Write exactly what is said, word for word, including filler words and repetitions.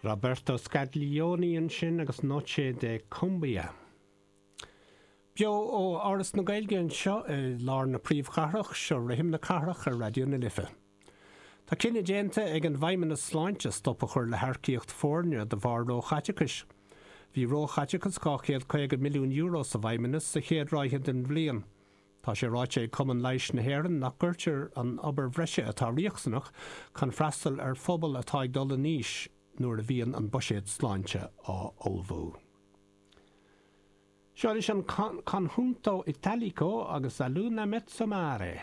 Roberto Scaglione ansin agus Noche de Cumbia. Beo ó Áras na Gaeilge anseo i lár na príomhchathrach seo rithim na cathrach ar Raidió na Life. Tá cinneadh déanta ag an bhFeidhmeannas Sláinte stop a chur le hearcaíocht foirne de bharr róchaiteachais. Bhí róchaiteachas dhá chéad caoga milliún euro sa bhFeidhmeannas sa chéad ráithe den bhliain. Tá sé ráite ag Cumann Leighis na hÉireann nach gcuirtear an obair bhreise atá riachtanach chun freastal ar phobal atá ag dul in aois nuair a bhíonn an buiséad sláinte á ullmhú. Seo leis an Conjunto Italico agus A Luna Mezzo Mare.